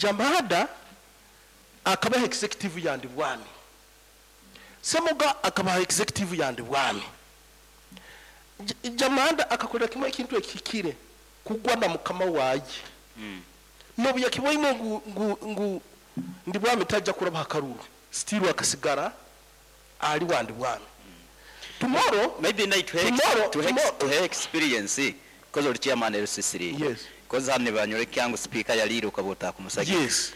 Jamada akabaha executive ya Ndibwami. Semuga akabaha executive ya Ndibwami. Jamada akakorera kimwe ekintu ekihikire, kugwa na mukama waye. Nobu yakiboine ngu ngu ngu Ndibwami tajja kurabaha karuru, still akasigara ali wa Ndibwami. Tomorrow, Maybe naye tuhe tomorrow, tuhe tomorrow. tuhe experience because oli chairman LC3. Yes. Because hanu nibanyoreka ngu speaker yaliire okaba otakumusagika. Yes.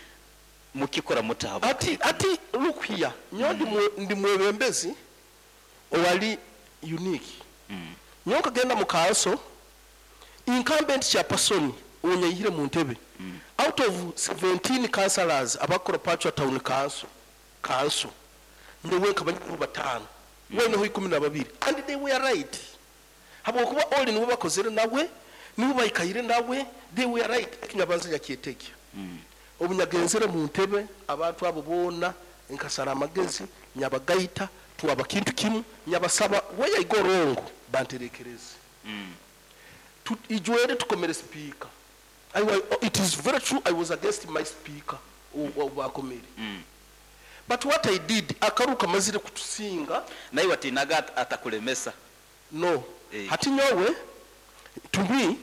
Mukikora muta habwa Ati ati look here, nyowe ndi mwe ndi mwebembezi owali unique. Nyowe nkagenda mu council, incumbent chairperson owunyaihire mu ntebe, out of 17 councillors abakukora Pachwa Town Council, council, nyowe nkaba nyineho bataano, we aineho 12 and they were right habwokuba oli niwe bakozere nawe, niwe baikaire nawe, they were right. Ekinyabanza nyakyetegya. Obu nyagenzere mu ntebe, abantu abo boona nkasara amagezi, nyabagaita, twaba kintu kimu, nyabasaba where I go wrong banterekereze. Tu, ijwere tukomere sipiika. I, wa, it is very true I was against my speaker obu bakomere. But what I did, akaru kamazire kutusinga. Naiwe watiinaga atakulemesa? No. Eh. Hati nyowe, to me,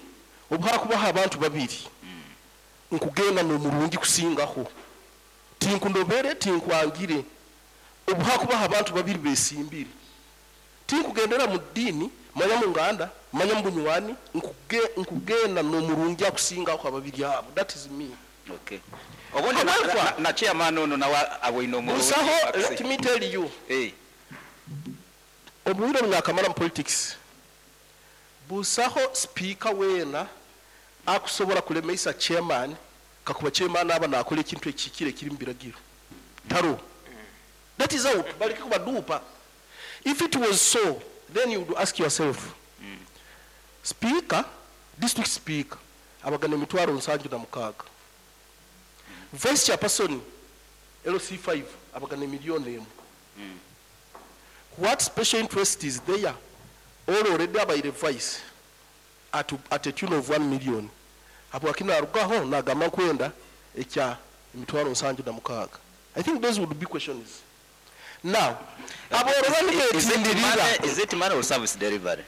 obu hakubaho abantu babiri, nkugenda n'omurungi kusingaho. Tinkundobere, tinkwangire. Obu hakubaho abantu babiri besimbire, tinkugendera mu ddiini, manya mu nganda, manya mu bunywani, nkugenda n'omurungi akusingaho ababiri abo. That is me. Okay. Obundi na, However, na, na chairman ono nawe aboine omurungi. Busaho, let me tell you. Eh. Obwire obunyakamara mu politics, busaho speaker weena akusobora kulemeisa chairman kakuba chairman aba nakora ekintu ekihikire ekiri mu biragiro. Taro. That is out. Baleke kubaduupa. If it was so, then you would ask yourself, speaker, district speaker, abagana emitwaro 76. Vice chairperson, LC5, abagana emiliyoni 1. What special interest is there? All already abaire vice at a tune of 1 million. Habwaki narugaho nagamba nkwenda ekya emitwaro 76. I think those would be questions. Now, aboroba nibetindirira. Is it money or service delivery?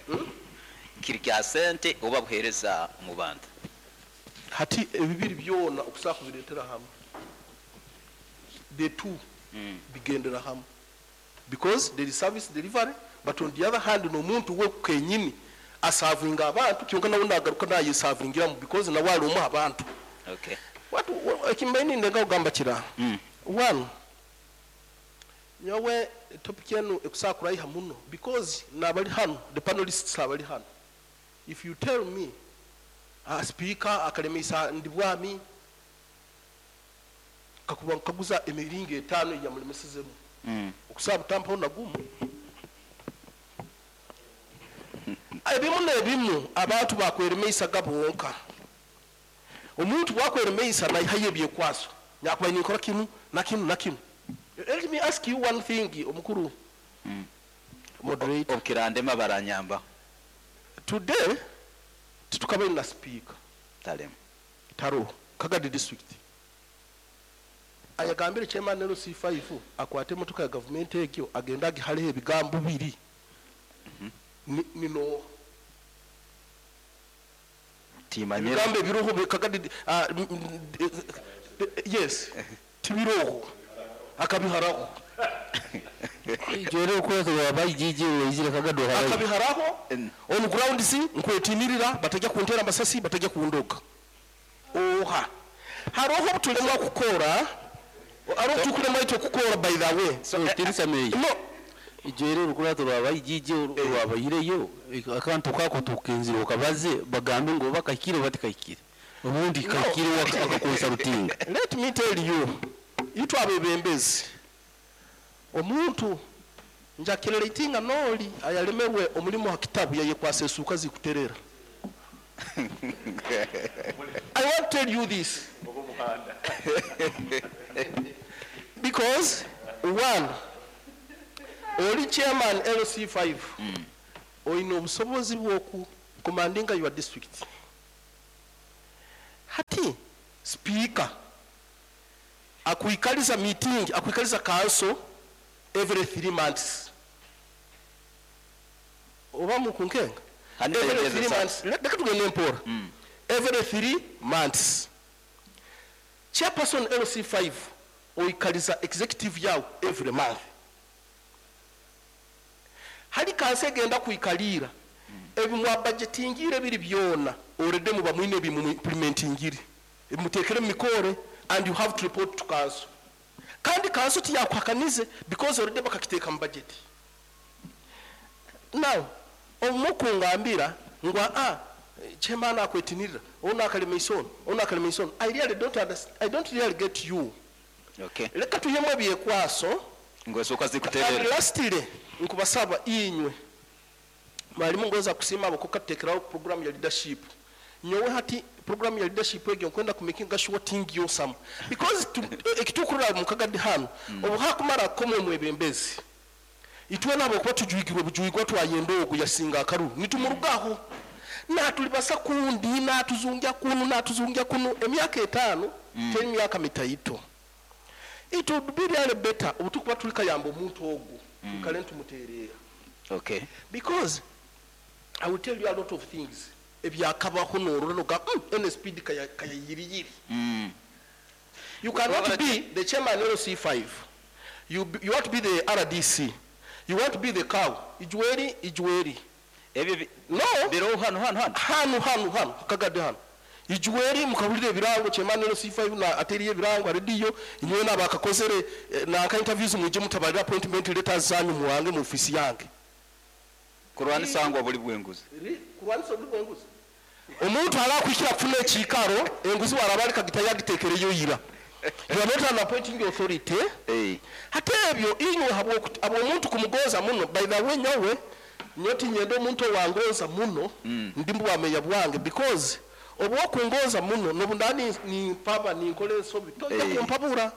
Kiri kya sente oba buheereza mu bantu? Hati ebibiri byona okusobola kubireetera hamwe. The two bigendera hamwe. Because there is service delivery, but on the other hand n'omuntu we kenyini asavinga abantu, kyonka nawe nagaruka nayesavingiramu because nawe ali omu abantu. Okay. What, ekimbaire nindenga kugamba kira. One, nyowe topic enu ekusobola kuraiha muno because nabali hanu, the panelists abali hanu. If you tell me, speaker akalemesa Ndibwami, kakuba nkaguza emiringo 5 eyamulemesezemu. Okusaba butampaho na gumu. Ebimu n'ebimu abantu bakweremeisaga bonka. Omuntu bwakweremeisa naihayo ebyekwaso. Nyakuba ninkora kinu na kinu na kinu. Let me ask you one thing, omukuru. Moderator. Obukirandema baranyamba. Today, titukabaire na speaker. Talemu. Taro, Kagadi district. Ayagambire chairman LC5 akwate emotoka ya government egyo agenda agihaleho ebigambo biri. Nino. Timanyira. Ebigambo ebiroho Kagadi, yes. Tibiroho. Akabiharaho. Jere okwezi wa IGG weizire Kagadi wa Akabiharaho. On ground si nkwetinirira batajya kuntera amasasi batajya kundoga. Oha. Haroho obutulemwa kukora. Haroho tukulemwa itwe kukora by the way. So, Tirisa Meyi. No. Ijere orukurato rwa IGG rwabahireyo akantu kako tukenzire okabaze bagambe ngo bakahikire batikahikire. Obundi kahikire akakonsultinga. Let me tell you. Itwe abebembezi. Omuntu njakireletinga noli ayalemerwe omulimo ha kitabu yayekwasa esuka zikuterera. I want to tell you this. Because one, oli chairman LC5, oine obusobozi bw'oku commandinga your district. Hati speaker Akwikaliza meeting, akwikaliza council every 3 months. Oba mukunkenga? Handi Every emyezi 3 esatu. months. Leka tugende mpora. Every 3 months. Chairperson LC5 oikaliza executive yawe every month. Hali kansi egenda kwikalira ebimwa budgetingire biri byona already muba mwine ebimu implementingire ebimutekere mu mikore and you have to report to council. Kandi council tiyakwakanize because already bakakiteeka mu budget. Now omukungambira ngu a chairman akwetinirira ono akalema isono ono akalema isono, I really don't understand, I don't really get you. Okay. Leka tuyemu ebyekwaso. Ngwesooka And zikuterera. lastly nkubasaba inywe mwalimu ngoza kusiima abo kukatekeraho program ya leadership. Nyowe hati program ya leadership egyo nkwenda kumakinga sure tingi yosamu because ekitukurira mu kagadi hano obu hakumara komwe mwebembezi itwe nabo kuba tujwigirwe bujwigwa twayenda ogu yasinga akaru nitumurugaho natulibasa kundi natuzungya kunu natuzungya kunu emyaka 5 teri myaka mitaito. It would be really better obutukuba tulikayamba omuntu ogu tukale ntumuterera. Okay. Because I will tell you a lot of things ebyakabaho norora noga NSPD kaya kaya yiri yiri. You cannot be the chairman LC5. You want to be the RDC. You want to be the cow. Ijweri ijweri. Ebyo No. biro hano hano hano. Hano hano hano kagade hano. Ijweri mukabulire ebirango chairman LC5 na ateriye ebirango radio inywe nabakakozere na ka interviews muje mutabalira appointment letters zanyu muwange mu office yange. Kurwanisa ngo buli bwenguzi. Kurwanisa buli bwenguzi. Omuntu alakwikira kufuna ekikaro enguzi warabalika gitayagitekereyo yira. You are not an appointing authority. Hate ebyo inywe habwo omuntu kumugoza muno. By the way nyowe nyoti nyendo omuntu wangoza muno ndimbu wa meya bwange because obwokungoza muno nobundani ni mpaba ni nkole ensobi tojja kumpabura.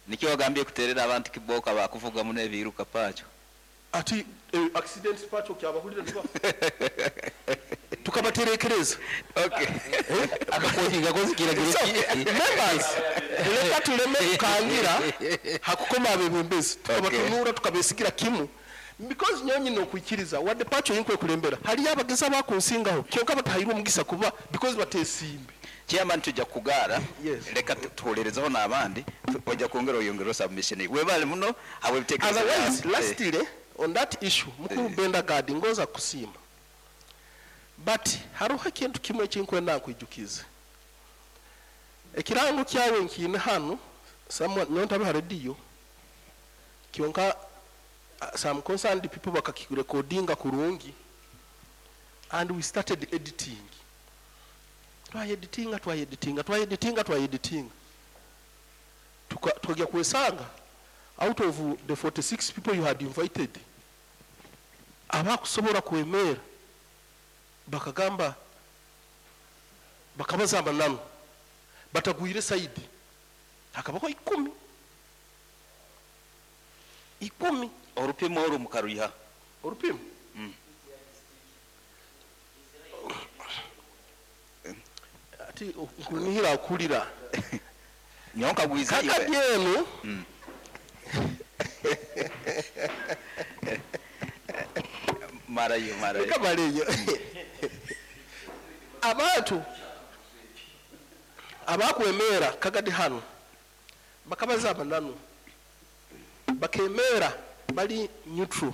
Nikyo wagambye kuterera abantu kiboka bakuvuga muno ebiruka pacho. Ati accident pacho kyabahulira niba tukabaterekereza. Okay. Akakoti gakoze kiragiro. So, members, leka tuleme kukangira hakukoma abebembezi tukabatunura tukabesigira kimu because nyonyi nokwikiriza wadde pacho yinkwe kulembera hali abageza bakunsingaho kyonka batahirwe omugisa kuba because batesimbe. Chairman tujja kugara. Yes. Leka tuholerezeho n'abandi ojja kwongera oyongera submission webale muno habwe bitekerezo. Otherwise lastly on that issue mukuru Benda Gadi ngoza kusiima but haruho ekintu kimwe ekinkwenda nkwijukize ekirango kyawe nkiine hano someone nyontabe ha radio kyonka some concerned people bakakirekodinga kurungi and we started editing. Twayeditinga twayeditinga twayeditinga twayeditinga tukajya kwesanga out of the 46 people you had invited abakusobola kwemera bakagamba bakabazamba nano batagwire side hakabaho 10 10 Orupimo oru mukaruha orupimo ati nkunihira akulira nyonka gwiza iwe kaka byenu marayo marayo kabaleyo abantu abakwemera kagadi hano bakabaza nano bakemera bali neutral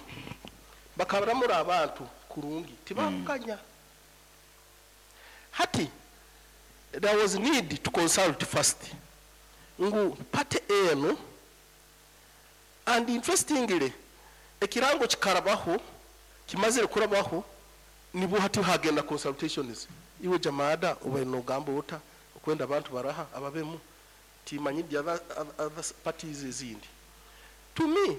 bakabaramura abantu kurungi tibakanya. Hati there was need to consult first ngu party eno and interestingly ekirango kikarabaho kimazire kurabaho nibo hati hagenda consultations iwe jamada ube nogamba ota okwenda abantu baraha ababemu timanyi the other parties ezindi. To me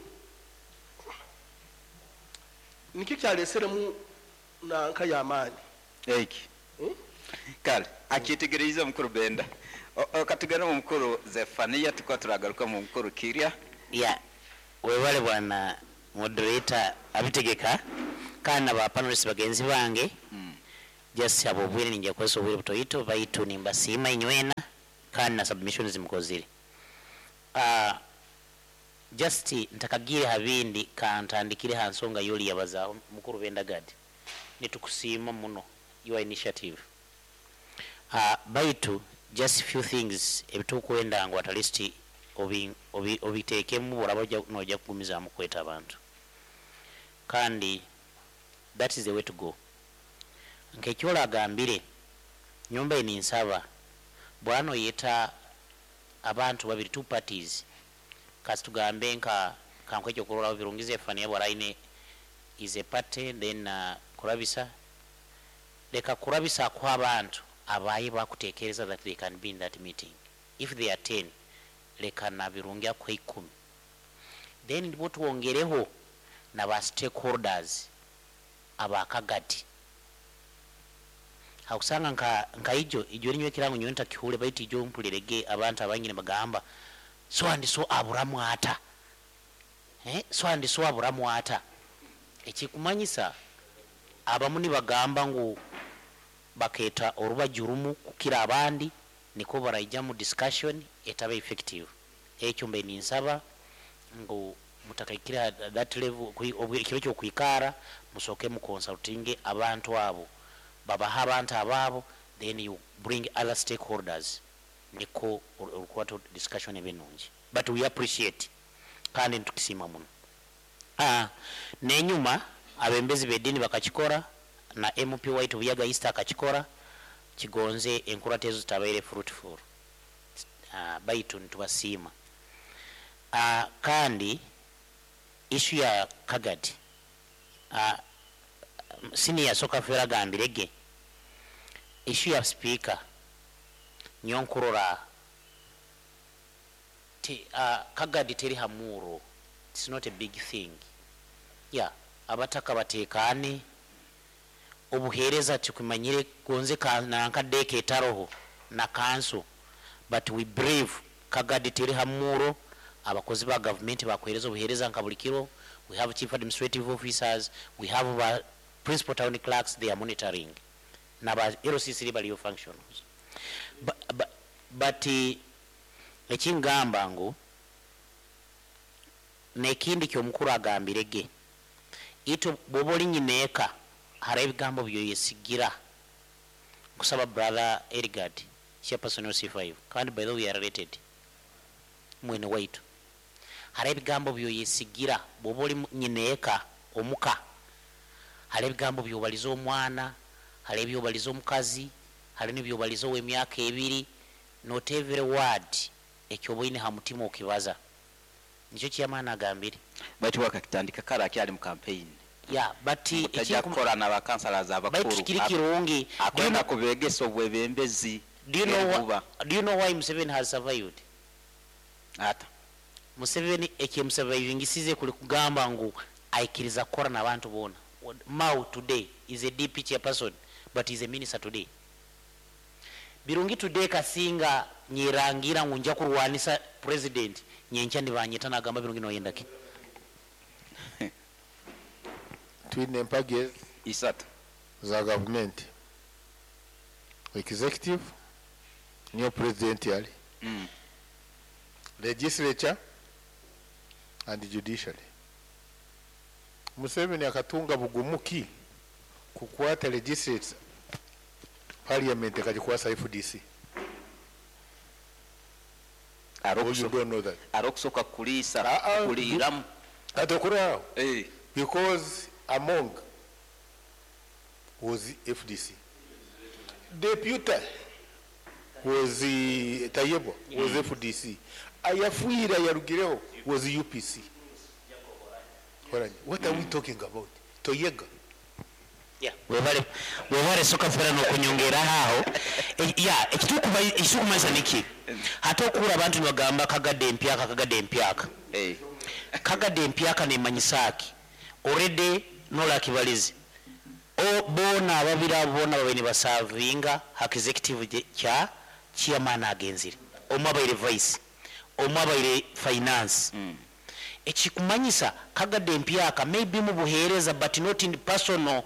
nikyo kyaleseremu nanka y'amaani eki kale akitegereza mukuru Benda katugana mu mukuru Zefania tukwa turagaruka mu mukuru Kirya ya webale bwana moderator abitegeka kana ba panelists bagenzi bange just abo bwire ninja kweso bwire butoyito baitu nimbasima inywena kana submissions mukozire. Just ntakagiire ha bindi kantandikire ha nsonga yoli yabazaaho mukuru Benda Gad. Nitukusiima muno your initiative. Baitu just few things ebitukwenda ngu at least obiteekemu bworaba noija kugumizaamu kweta abantu. Kandi that is the way to go. Nk'ekyoragambire nyowe mbaire ninsaba bworaba noyeta abantu babiri, two parties, kasi tugambe nka kankuhe ekyokurorraho Birungi Zephania bwara aine is a party then Kurabisa, leka Kurabisa akuhe abantu abaye bakutekereza that they can be in that meeting. If they are 10, leka na Birungi akuhe 10. Then ndibwo twongereho na ba stakeholders abakagadi. Hakusanga nka ijo, ijo rinywe kirango nyowe ntakihule baitu ijo mpulirege abantu abanyine bagamba so and so aburamu ata. So and so aburamu ata. Ekikumanyisa abamu nibagamba ngu baketa orubajurumu kukira abandi niko baraija mu discussion etaba effective. Ekyo mbe ninsaba ngu mutakaikira that level ekiro kyo kwikara musoke mu consulting abantu abo babaha abantu ababo, then you bring other stakeholders niko orukwato discussion ebinungi, but we appreciate kandi ntukisima muno. Nenyuma abembezi bedini bakakikora na MP White Buyaga East akakikora, kigonze enkurata ezo zitabaire fruitful. Baitu ntubasiima. Kandi issue ya Kagadi, senior soka fera gambirege issue ya speaker nyonkurora ti, Kagadi teri hamuro, it's not a big thing. Yeah, abataka batekane obuhereza tukumanyire gonze ka nankadeke etaroho na kanso, but we brave Kagadi teri hamuro. Abakozi ba government bakuhereza obuhereza nka buli kiro. We have chief administrative officers, we have ba principal town clerks, they are monitoring na ba LCC baliyo functions. But ekingamba ngu nekindi kyomukuru agambirege ito bwoba oli nyineeka hari ebigambo byoyesigira. Nkusaba brother Edgard chairperson wa C5, kandi by the way we are related mwene waitu, hari ebigambo byoyesigira bwoba oli nyineeka omuka, hari ebigambo byobaliza omwana, hari ebyobaliza omukazi, hari nebyobaliza ow'emyaka ebiri, not every word ekyoboine ha mutima okibaza. Nikyo kyamaana agambire. Baitu wakakitandika kara akyali mu campaign. Yeah, but Mutajja kukora na ba councillors abakuru. Baitu kiri kirungi. Akwenda kubegesa obwebembezi. Do you know why Museveni has survived? Ata. Museveni ekimusurvivingisize kuli kugamba ngu aikiriza kukora n'abantu bona. Mao today is a DP chairperson, but is a minister today. Birungi today kasinga nyirangira ngu nja kurwanisa president nyenkya nibanyeta nagamba Birungi noyenda ki? Twine empagi isatu za government. Executive niyo president yali. Legislature and judiciary. Museveni akatunga bugumuki kukwata legislature parliament akagikwasa FDC. You don't know that. Arokusoka kulisa, kuliramu. Atokura. Because among was FDC. Deputy was Tayebwa was FDC. Ayafuira Yarugireho was UPC. What are we talking about? Toyega. Yeah, webale soka fera no kunyongera aho. Yeah, ekitukumaza niki? Hata okura abantu nibagamba Kagadde empyaka, Kagadde empyaka. Kagadde empyaka nemanyisaki. Already nola kibalizi. O bona ababira bona babe nibasavinga hak executive kya chairman agenzire. Omwe abaire vice, omwe abaire finance. Ekikumanyisa Kagadde empyaka maybe mu buheereza but not in personal.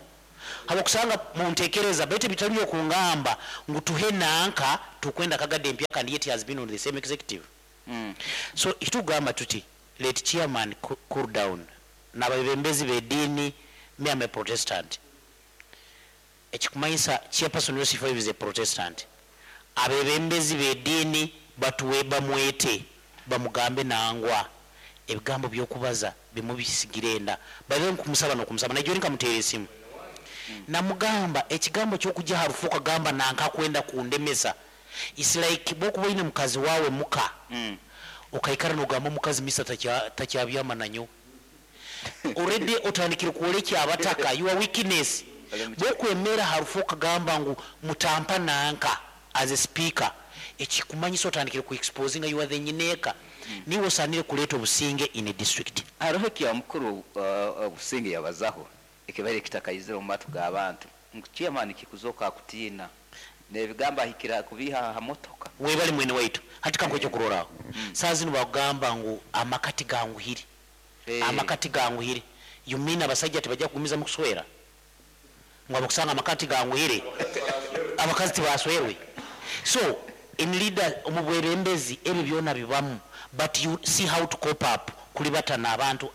Habakusanga muntekereza baitu bitali okungamba ngu tuhe nanka tukwenda Kagadde empyaka and yet he has been on the same executive. So kitugamba tuti let chairman cool down n'abebembezi b'ediini. Me, am a Protestant. Ekikumanyisa chairperson LC5 is a Protestant. Abebembezi b'ediini batuwe bamwete bamugambe nangwa ebigambo by'okubaza bimubisigire enda babe nkumusaba n'okumusaba najjo nkamuteera esimu namugamba ekigambo ky'okujja harufu okagamba nanka kwenda kundemesa. It's like bwokuba oyine mukazi wawe muka okaikara nogamba omukazi misa takyabyama nanyo, already otandikire kwolekya abataka your weakness. Bwokwemera harufu okagamba ngu mutampa nanka as a speaker, ekikumanyisa otandikire ku exposing you are the nyineka, niwe osanire kuleeta obusinge in a district. Hariho ekya mukuru obusinge yabazaho ekibaire kitakaizire omu matu g'abantu ngu chairman kikuzoka akutiina n'ebigambo ahikira kubiiha aha motoka. Webali mwene waitu, hati kankuha ekyokurorraho. Saa zinu bakugamba ngu amakati ganguhire. Amakati ganguhire, you mean abasajja tibajja kugumizamu kuswera ngu abakusanga amakati ganguhire abakazi tibaswerwe? So in leader, omu bwebembezi ebyo byona bibamu, but you see how to cope up kulibata n'abantu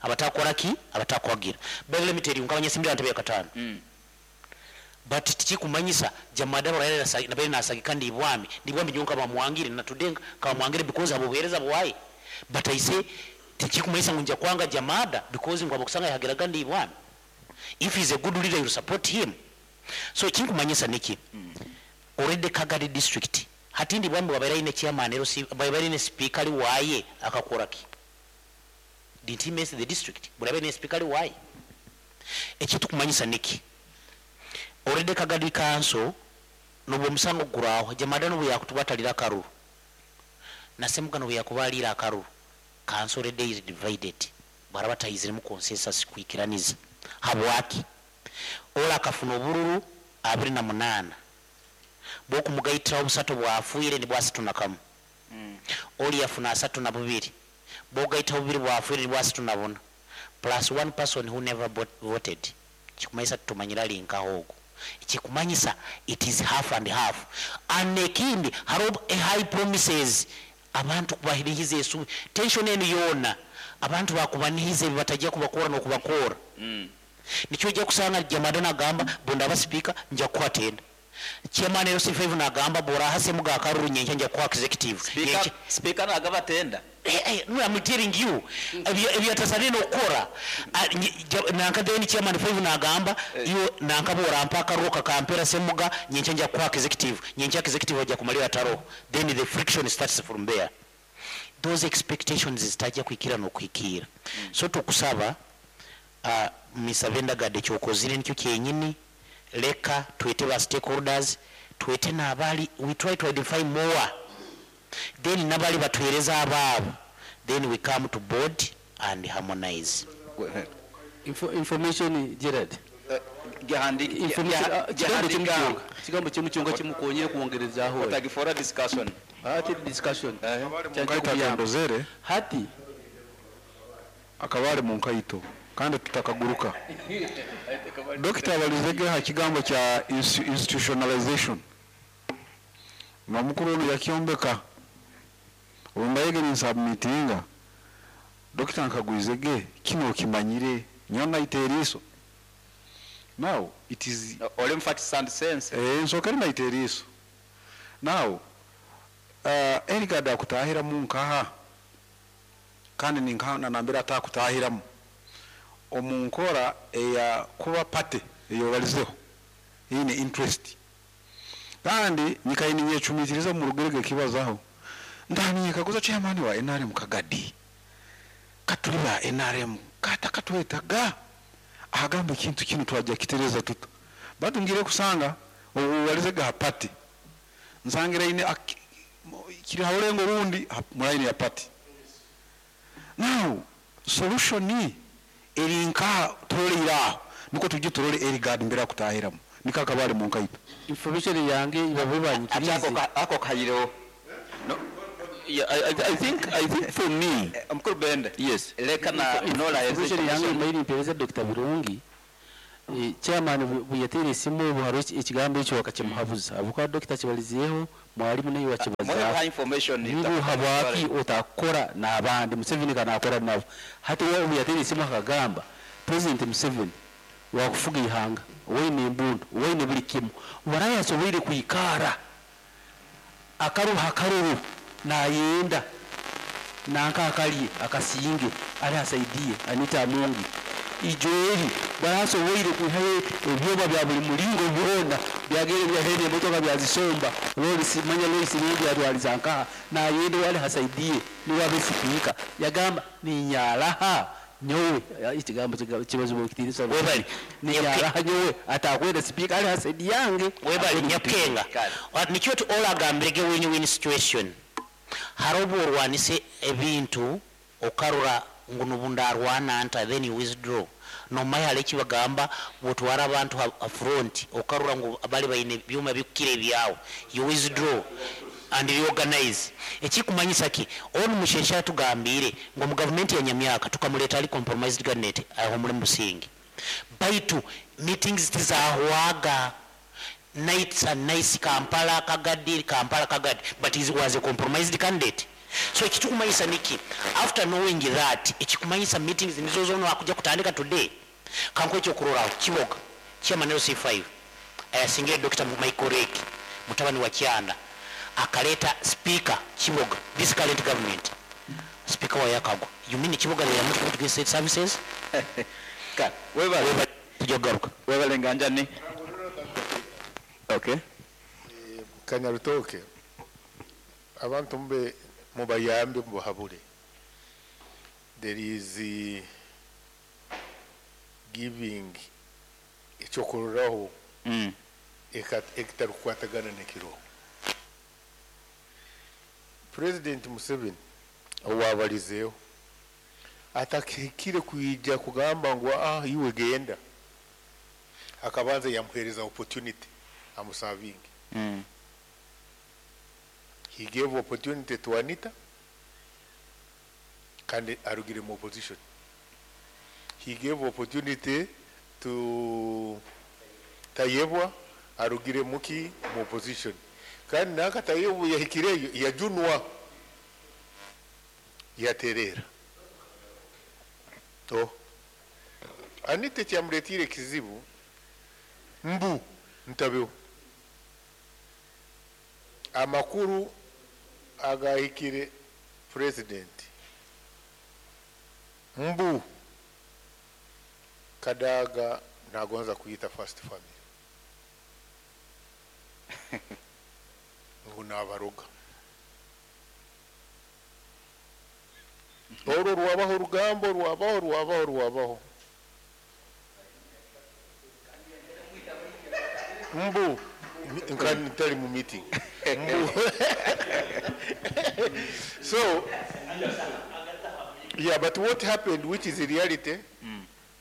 abatakora ki, abatakwagira. But let me tell you, nkabanyesimbira ntebe ya kataano, but tikikumanyisa jamada nabaire nasagika ndibwami ndibwami nyo nkabamwangire natudenga nkabamwangire because abo buhereza bwaye. But I say tikikumanyisa ngu nja kwanga jamada because ngu abakusanga yahagiraga ndibwami. If he's a good leader, you support him. So kinkumanyisa niki, already Kagadi district hati ndibwami wabaire aine chairman ero si wabaire aine speaker ali waye akakora ki? Didn't he mess the district? Bulabe ne speaker ali waye. Ekitukumanyisa niki, already Kagadi council nobwo omusango guraho jamada nobu yakutubatalira akaruru nasemuga nobu yakubalira akaruru, council already is divided. Baraba tayiziremu consensus kwikiraniza. Habwaki? Ola akafuna obururu 28, bwokumugayitiraho busatu bwafuire ni bwasatu na kamu. Oli yafuna 32, bwogayitaho bubiri bwafuire ni bwasatu na buna, plus one person who never voted. Kikumanyisa tutumanyira linkaho ogwo, kikumanyisa it is half and half. And ekindi, hariho a high promises abantu kubahirihiza esubi tension enu yoona abantu bakubanihiza ebi batajja kubakora n'okubakora. Nikyo ojja kusanga jamada nagamba bundaba speaker nja kukuha tenda, chairman LC5 nagamba boraha semuga akaruru nyencha nja kukuha executive. Speaker, speaker nagaba tenda. No, I'm telling you ebyo atasanire n'okukora. Nanka then chairman 5 nagamba iyo nanka bora mpa akaruru kakampera semuga nyencha nja kukuha executive, nyencha executive ajja kumalira taro. Then the friction starts from there. Those expectations zitajja kwikira n'okwikira. So tukusaba Mr. Vendagadde, kyokozire nikyo kyenyini. Leka twete ba stakeholders, twete n'abali, we try to identify more, then n'abali batuhereza abaabo, then we come to board and harmonize. Information Gerard. Information, kigambo kyemukyonga, kigambo kyemukyonga kimukonyere kwongerezaaho. Otagifora discussion. Ati discussion. Munkaito akandozere hati akabale munkaito kandi tutakaguruka. Dokita abalizege ha kigambo kya institutionalization nomukuru ono yakyombeka olumbayege ninsubmitinga dokita nkagwizege kino okimanyire nyo naita eriiso. Now it is Oli mu facts and sense. Nsooka eri naita eriiso. Now erigada akutahiramu nkaha kandi ninkaha nanambira atakutahiramu omu nkora eya kuba pate eyobalizeho ine interest kandi nyikaini nyecumitiriza mu rugerege kibazaho ndani kaguza chairman wa NRM Kagadi katuli ba NRM kata katwetaga ahagamba ekintu kino twajja kitereza tuta batu ngire kusanga obubalize ga party nsangira ine kiri haulengo rundi mulaini ya party. Now solution eri nka turolera niko tujye turole eri guard mbere kutahiramu nikakabale mu nkaito. Information yange ibabe banyikirize. Ako kayireho. No. Yeah, I think for me, Mukuru Bende. Yes. Leka na nola Information yange imairi mpereza Dr. Birungi. Chairman bwe yateera esimu obu hariho ekigambo ekyo bakakimuhabuza ahabw'okuba Dr. kibalizeeho Mwalimu naye Muhe wakibazaho information ngu habwaki otakora n'abandi, Museveni kanakora nabo. Hati we obu yateire esimu akagamba President Museveni wakufuga ihanga, waine embundu, waine buli kimu, waraye asoboire kwikara akaruha akaruru nayenda nanka akalye akasinge ali asaidie Anita Amongi ijoeri barasoboire kwihayo ebyoba bya buli mulingo byona byagere byahene emotoka byazisomba lori manya lori siringi yatwaliza nkaha nayende wali hasaidie niwe abe sipiika yagamba ninyaraha nyowe. Ekigambo kibazo kitiinisa. Webale. Ninyaraha nyowe atakwenda sipiika ali hasaidi yange. Webale Nyakenga. Nikyo tu olagambirege win win situation. Hari obu orwanise ebintu okarora ngu nubundarwana nta, then you withdraw. Nomanya hali ekibagamba bwotwara abantu ha front okarora ngu bali baine byuma bikukira ebyawe, you withdraw and reorganize. Ekikumanyisa ki onu Mushesha atugambire ngu mu gavumenti ya Nyamyaka tukamuleta ali compromised cabinet aho muri Musingi, baitu meetings tizahwaga, nights and nights, Kampala Kagadi, Kampala Kagadi, but he was a compromised candidate. So ekikumanyisa niki after knowing that, ekikumanyisa meetings nizo zono akuja kutandika today. Kanko ekyokuroraho Kiboga chairman LC5 ayasingire Dr. Michael Rake mutabani wa Kyanda akaleta speaker Kiboga, this current government speaker wa Yakagwa. You mean Kiboga they are not going to get state services? Ka webale. Tujja kugaruka. Webale nganjani. Okay. Kanyarutoke, abantu mube mubayambe mubahabure. There is giving ekyokurorraho ekitarukukwatagana n'ekiroho. President Museveni owabalizeeho atakihikire kwija kugamba ngu ah, iwe genda, akabanza yamuhereza opportunity amusavinge. He gave opportunity to Anita kandi arugire mu opposition. He gave opportunity to Tayebwa arugire muki mu opposition, kandi naka Tayebwa yahikireyo yajunwa yaterera. Oh. Anita kyamuletire kizibu mbu ntabeho amakuru agahikire president mbu Kadaga nagonza kuyita first family ngu nabaroga. Olwo rwabaho orugambo rwabaho rwabaho rwabaho mbu nka ntari mu meeting mbu. So yeah, but what happened, which is the reality,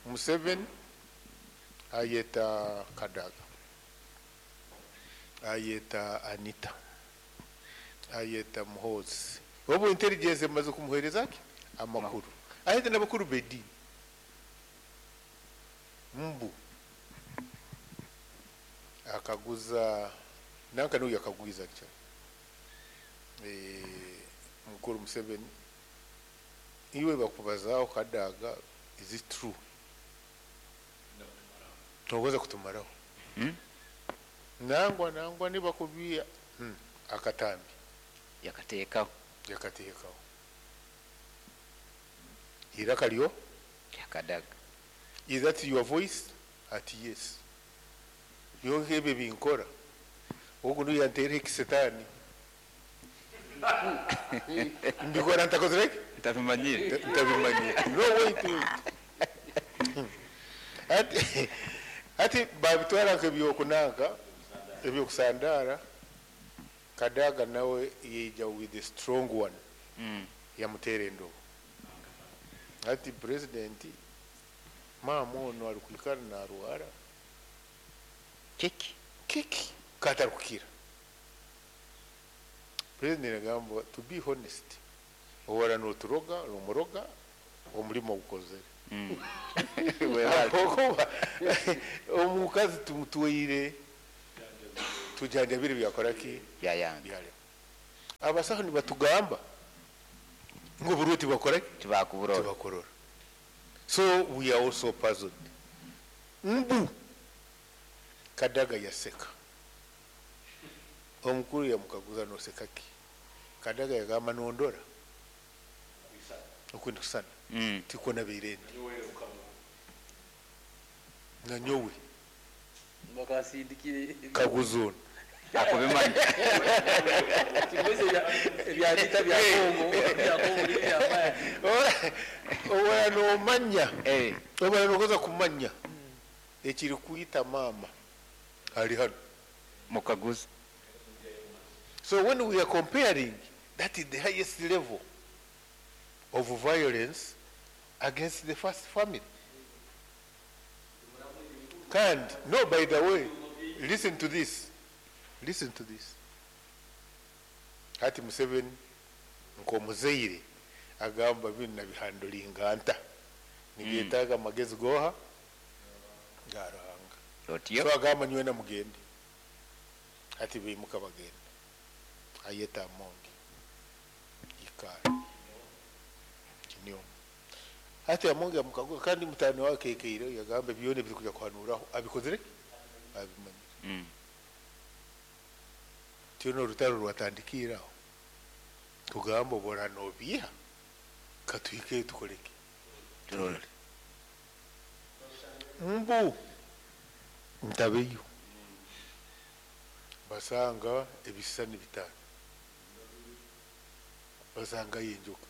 Museveni ayeta Kadaga, ayeta Anita, ayeta Muhoozi, obu intelligence emaze kumuhereza ki amakuru, ayeta n'abakuru b'eddiini mbu akaguza nanka n'oyo akagwiza actually. Mukuru Museveni iwe bakubazaaho Kadaga, is it true? Togoza kutumaraho. Nangwa nangwa nibakubia akatambi yakateekaho. Yakateekaho iraka lyo Yakadaga. Is that your voice? Ati yes. Byonka ebyo binkora ogu niyo yanteera ekisetani mbikora ntakozire ki? Ntabimanyire. Ntabimanyire. No, wait, wait. Ati ati babitwara nk'ebyokunanka ebyokusandara. Kadaga nawe yeija with the strong one. Yamuteera endobo ati president maama ono ari kwikara narwara kiki kiki katarukukira. President agamba, to be honest, ohora noturoga nomuroga omurimo gukozere. Ahabwokuba omukazi tumutwaire Tujanjabire byakora ki? Byayanga. Byarema. Abasaho nibatugamba ngu oburwe tibakora ki? Tibakuburora. Tibakurora. So we are also puzzled. Mbu Kadaga yaseka. Omukuru yamukaguza, noseka ki? Kadaga yagamba, nondora okwindi kusana. Tikwo nabeire ndi nanyowe. Bakasindikire. Kaguza ono. Akubimanya. Kimeze ebyabita bya Kongo, bya Kongo n'ibyamaya. Obara nomanya. Obara nokoza kumanya ekiri kuyita maama ali hano. Mukaguza. So when we are comparing, that is the highest level of violence against the first family. And no, by the way, listen to this. Listen to this. Hati Museveni nk'omuzaire agamba, binu nabihandulinga nta nibyetaaga amagezi goha ga Ruhanga. Otyo. So agamba, nywena mugende. Hati bimuka bagenda, ayeta Amongi, ikara kinyomo. Hati Amongi amukaguza, kandi mutani wake keire yagamba, byone biri kuja kuhanuraho abikozere, abimanyire. Tino orutaro rwatandikiraho tugamba, obora nobiha katuhike tukoleke. Turore. Mbu ntabeyo basanga ebisisani 5, basanga yenjoka,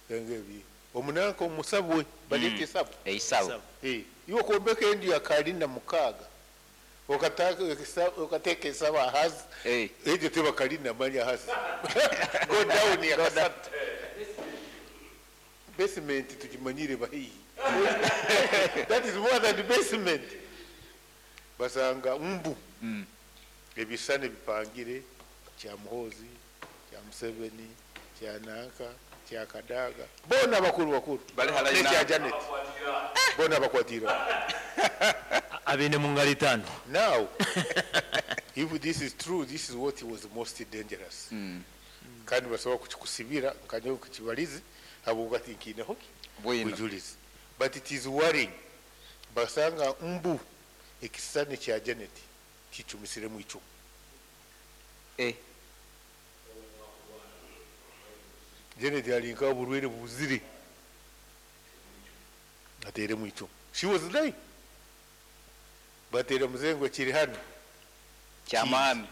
sanga ebi omunanka omusabwe baleta esabo. Eisabo. Eh, iwe kwombeka enju ya kalina 6, okateeka esabo ahasi. Egyo teba kalina, manya hasi, go down ya kasatu, basement tukimanyire bahihi, that is more than the basement. Basanga mbu ebisane bipangire, kya Muhozi, kya Museveni, kya nanka, kya Kadaga, bona bakuru bakuru. Bali halali. Nekya Janet, bona bakwatira. Abine mu ngalo 5. Now if this is true, this is what was most dangerous. Kandi basobola kukikusibira nkanya kukibalizi habwokuba tinkiineho ki Bwino. bujulizi, but it is worrying. Basanga mbu ekisisani kya Janet kicumisiremu icumu. Janet alinka oburwaire buzire, ateremu icumu. She was lying, batere muzengo kiri hano. Kyamaani.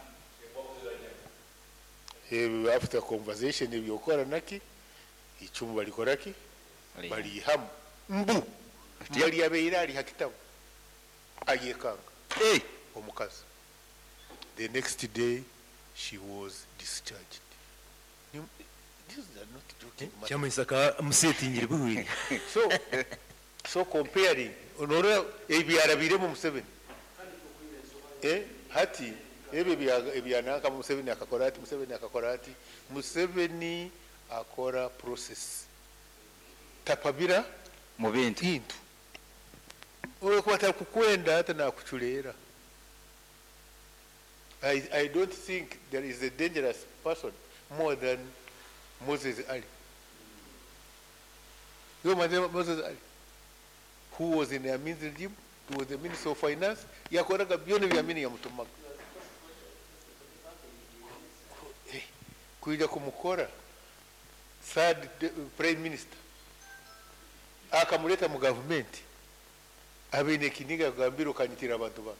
Eh, after conversation ebyokora naki, icumu balikora ki? Balihamu. Mbu yali yabeire ali hakitabu ayekanga. Omukazi, the next day she was discharged. These are not joking matters. Kyamuhisaka musetingire buhwire. So comparing, onorora ebyarabiremu Museveni, eh, hati ebyo ebyananka Museveni akakora ati, Museveni akakora ati, Museveni akora process tapabira mu bintu. Bintu olwokuba takukwenda hata nakuculeera. I don't think there is a dangerous person more than Moses Ali. You know Moses Ali, who was in the Amin's regime, he was the Minister of Finance, yakoraga byona bya Amini yamutumaga. Eh, kuija kumukora third prime minister, akamuleta mu government, abeine ekiniga agambira, okanyitira abantu bange.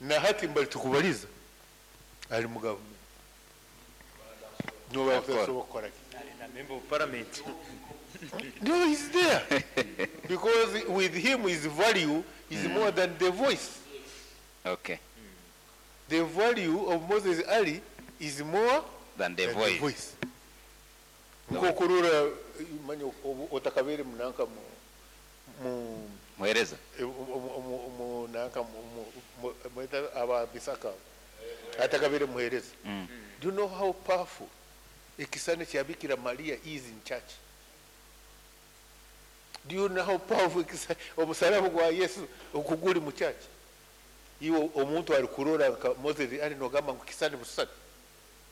Na hati mbali tukubaliza ali mu government noba Akora. tasobola kukola ki? Member of parliament. No, he's there because with him his value is more than the voice. The value of Moses Ali is more than the than voice. The voice. Nkokurura manya otakabere munanka mu Muhereza. Mu nanka mweta aba bisaka atakabere muhereza. Do you know how powerful ekisane kya Bikira Maria is in church? Do you know how powerful omusalaba gwa Yesu okuguli mu church? Iwe omuntu arikurora nka Moses ari nogamba ngu kisani busani.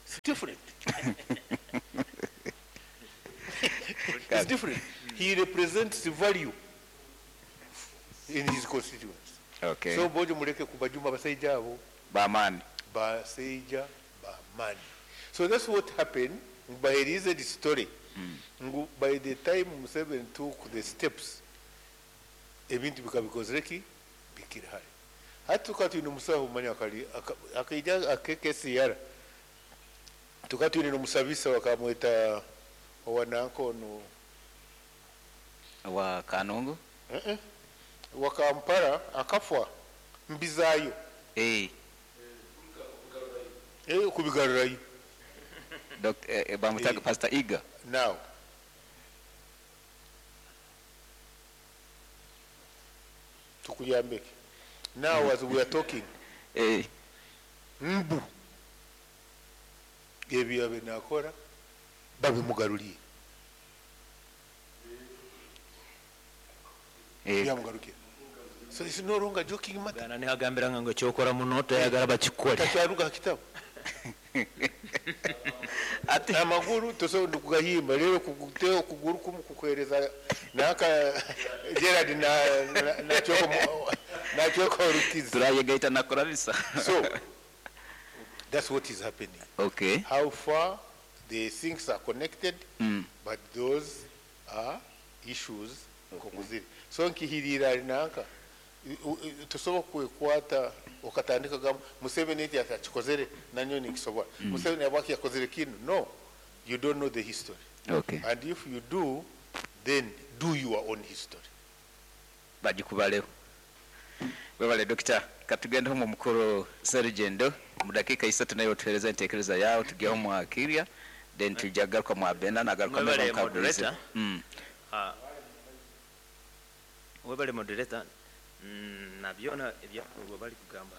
It's different. It's different. He represents value in his constituents. Okay. So bojo mureke kubajuma abasaija abo. Bamani. Basaija bamani. So that's what happened. Baherize the story. Ngu by the time Museveni took the steps, ebintu bikabikozire ki bikiri hare. Hati tukaba twine omusaho manya akari akaija akekesiyara. Tukaba twine n'omusabisa bakamweta owa nanka onu Wa Kanungu? Eh wa Kampala akafwa mbizayo. Eh. Eh kubigarurayo. Dr. Bamutaga Pastor Iga. Now. Tukuyambeke. Now as we are talking. Eh. Mbu. Ebyo abe nakora babimugaruliye. Eh. Byamugarukiye. So it's no longer joking matter. Gana nihagambira ngo kyokora muno toyagala bakikole. Takyaruga kitabo. Ati amaguru tosobola kugahimba rero kuguteo okuguru kumu kukuhereza naka Gerard na na nachoko rukizi. Turayegaita nakora bisa. So that's what is happening. Okay. How far the things are connected, but those are issues kokuziri. So nkihirira nanka tusobola kwekwata okatandika gamba Museveni eti atakikozere nanyo nikisobola. Museveni abaki yakozere kino. No, you don't know the history. Okay. And if you do, then do your own history. Bagikubaleho. Webale Doctor, katugende mu mukuru Serugendo mu dakika isatu nayo tuhereza entekereza yawe tugeho mu akirya then tujagaruka mu abena nagaruka Mwebale mu kabulize. moderator. Webale moderator. Nabyona ebyakorwa bari kugamba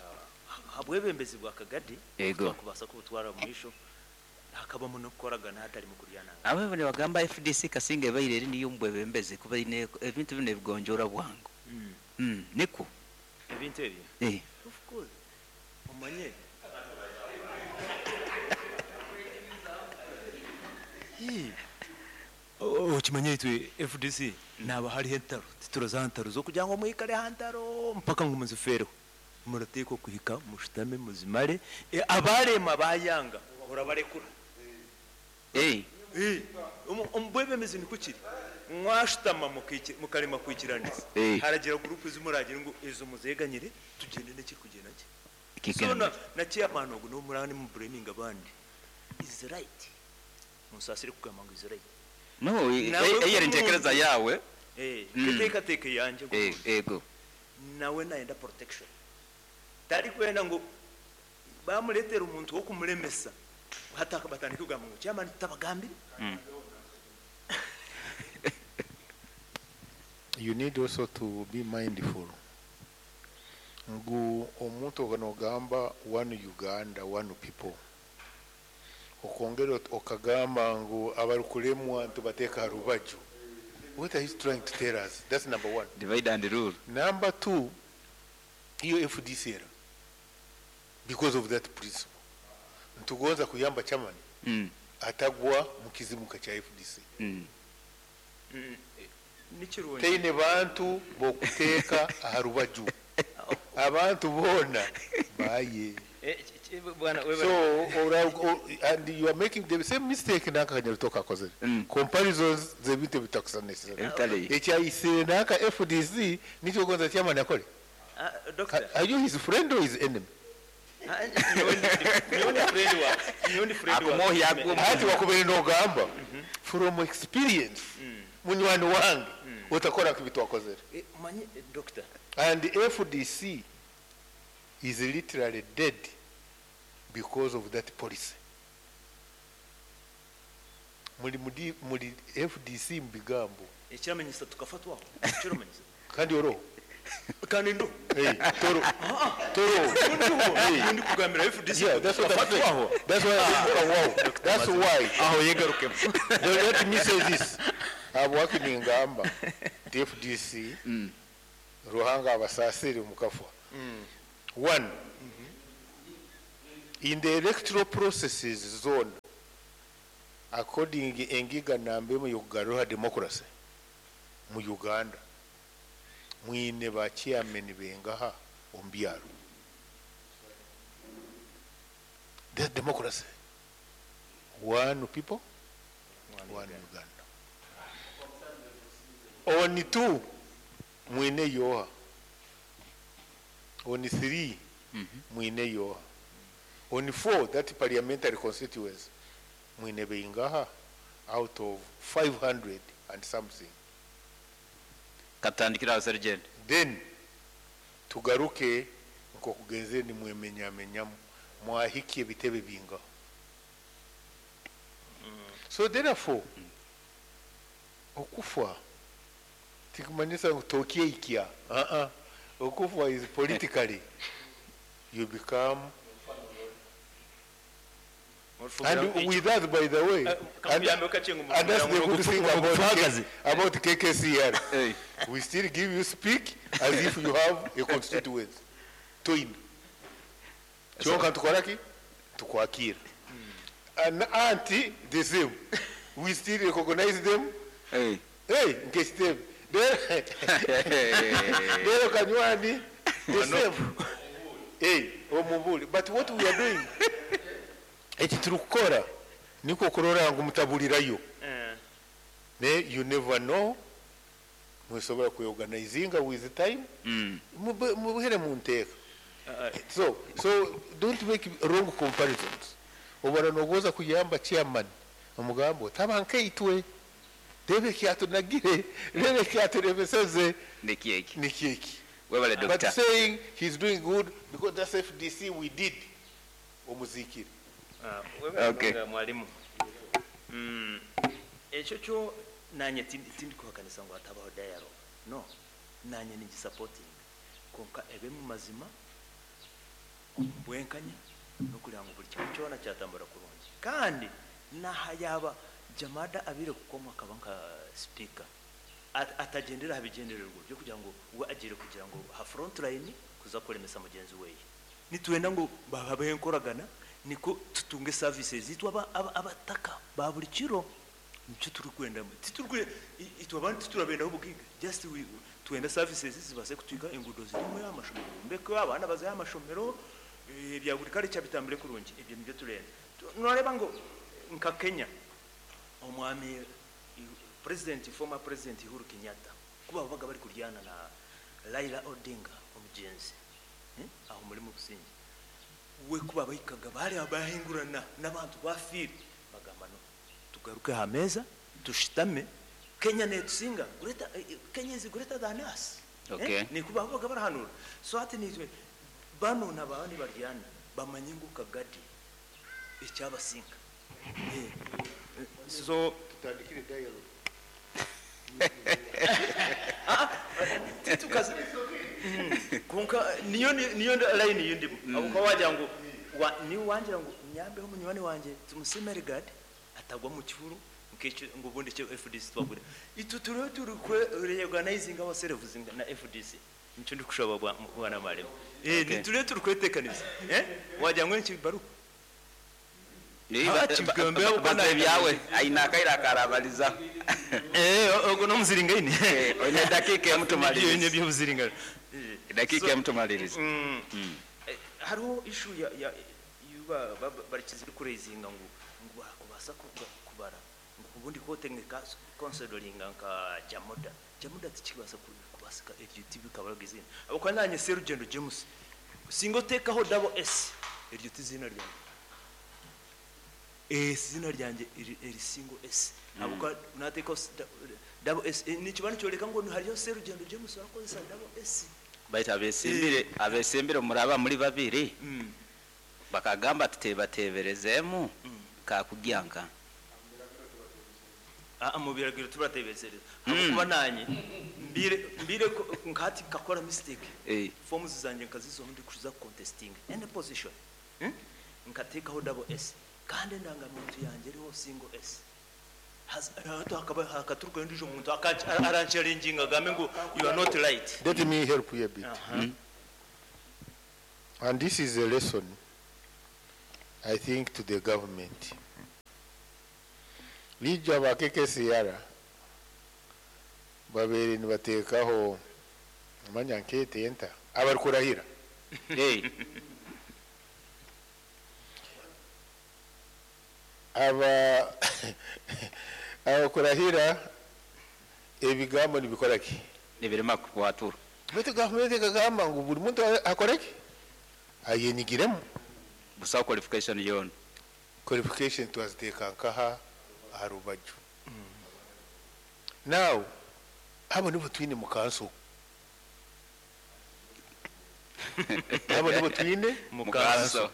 habwebembezi bwa Kagadi kubasa kubutwara mu misho hakabamu n'okukoragana hatari mu kuryana. Abo bane bagamba FDC kasinga ebaire eri niyo mbwebembezi kuba ine ebintu bino ebigonjora bwangu. Niko ebintu ebyo. Of course. Omanye. Okimanye itwe FDC naba hariho entaro tituroza ntaro zo kugira ngo mwikare hantaro mpaka ngo muzifereho murateekwa kuhika mushutame muzimare abarema bayanga bahora barekura. Omubwebembezi niko kiri mwashutama mukarema kwikiranisa haragira gurupu zimuragira ngo ezo muzeganyire tugende nekiri kugenda ki so na chairman ogu n'omurani mu blaming abandi is right musasire kugamba ngo is right. No, eyeri ntekereza yawe. Teekateeka yanje. Ego. Nawe nayenda protection. Tari kwenda ngo bamuletera omuntu wo kumulemesa hataka batandike kugamba ngo chairman tutabagambire. You need also to be mindful. Ngu omuntu oganogamba one Uganda, one people. Okongera okagamba ngu abarukulemwa ntubateeka rubaju. What are you trying to tell us? That's number one. Divide and rule. Number two, iyo FDC era because of that principle. Ntugonza kuyamba chairman atagwa mukizimuka cha FDC. Teine bantu bokuteeka aharubaju. Abantu bona baye. So and you are making the same mistake naka kanyarutoka akozere. Comparisons zebintu bitakusanisa. Ekyayise naka FDC nikyo gonza chairman akole. Doctor. Are you his friend or his enemy? Hati wakubere nogamba from experience munywani wange utakora kibitu wakozere. Manye doctor. And the FDC is literally dead because of that policy. Muri FDC mbigambo. Ekiramenyesa tukafatwaho. Ekiramenyesa. Kandi oro. Kandi ndo. Toro. Toro. Ndi kugambira FDC. Yeah, that's what I'm saying. That's why wow. That's why. Aho yegaruke. Let me say this. Abwaki ningamba FDC Ruhanga abasasire mukafwa. One, in the electoral processes zone, according engiga namba emwe y'okugaruha democracy mu Uganda, mwine ba chairman bengaha omu byaro. That's democracy. One people, one Uganda. On two, mwine yoha. On 3, mwine yoha. On 4, that parliamentary constituency, mwine beingaha out of 500 and something. Katandikira aho Serugendo. Then tugaruke nk'okugenzere nimwemenyamenyamu mwahikia ebitebe bingaho. So therefore, okufa tikumanyisa ngu tokyeikia. Uh-uh. Okufa is politically you become, and with that, by the way, and that's the good thing about KKCR. Hey. We still give you speak as if you have a constituency. Twin. Kyonka tukoraki? Tukwakira. And auntie, the same. We still recognize them. Hey. Hey, nkekitebe. Lero Kanywani, the same. Hey, omubuli. But what we are doing, eki turikukora niko kurora ngu mutabulirayo. Ne you never know. Musobora kweorganizinga with time. Mubuhere mu nteeka. So don't make wrong comparisons. Obara nogoza kuyamba chairman omugambo taba nkeitwe rebe kyatunagire rebe kyaturebeseze Nikieki. nikieki. Webale But doctor. saying he's doing good because that's FDC we did omuzikire. Okay. Mwalimu. Ekyo kyo nanye tindi kuhakanisa ngu hatabaho dialogue. No, nanye ningi supporting. Konka ebe mu mazima bwenkanya n'okugira ngu buri kimwe kyona kyatambura kurungi. Kandi naha yaba Jamada abire kukoma akaba nka speaker atagendera habigendererwa byo kugira ngo we agire kugira ngo ha front line kuza kuremesa mugenzi weye. Nitwenda ngo bababe nkoragana niko tutunge services zitwa abataka ba buri kiro nicyo turi kwenda titurwe itwa abantu titurabenda ubugiga just we twenda services zibase kutwika ingudo zirimo amashomero mbeko abana bazaye amashomero bya buri kare cyabitambire kurungi ibyo nibyo turenda. Nureba ngo nka Kenya omwami president former president Uhuru Kenyatta kuba babaga bari kuryana na Raila Odinga omugenzi aho muri mu busingi we kuba bayikaga bari abahingurana n'abantu bafiri bagamba no tugaruke ha meza tushitame Kenya netsinga greater Kenya is greater than us. Okay. Ni kuba babaga barahanura so ati nitwe bano nabandi baryana bamanye ngo kagadi icyabasinga. So tutandikire dialogue. Tukaze konka niyo line yindi abo wagira ngo ni wangira ngo nyambeho munywani wanje tumusimere guard atagwa mu kihuru nk'icyo ngo ubundi cyo FDC twagure itu turiho turi reorganizing ourselves na FDC nicyo ndi kushaba bwana maremo ni turiho turi kwetekaniza wagira ngo niki baruko Byawe aina kaira karabaliza ogo no muziringaine onye dakika emutumaliriza byo muziringa dakika emutumaliriza. Hariho issue ya yuba barikizi kurezinga ngo kubasa kubara ngo ubundi kotenga considering nka Jamoda tikibasa kubasika iryo TV kabaraga izina abo kwa nanye Serugendo James singo tekaho double S iryo tizina ryanjye izina ryanjye iri single S abo kwa nateko double S ni kibano cyoreka ngo hariyo Serugendo James wakoze double S baita abesimbire muraba muri babiri bakagamba tutebateberezemu kakugyanka mu biragiro turateberezereza kuba nanye mbire nkati kakora mistake forms zanje nkazizo ndi kuza contesting any position nkatekaho double S kandi ndanga muntu yanjye riho single S hakaba hakaturuka ndije umuntu aranchalenginga gambe ngo you are not right. Let me help you a bit. And this is a lesson, I think, to the government. Lijo aba KKCR babere nibateekaho manya nkete enta abarikurahira. Hey. Aba abakurahira ebigambo nibikora ki? Nibirema kuwatura. Baitu gavumenti ekagamba ngu buri muntu akore ki? Ayenyigiremu. Busaho qualification yoona. Qualification twaziteeka nkaha aha rubaju. Now, abo nibo twine mu kanso. Abo nibo twine mu kanso.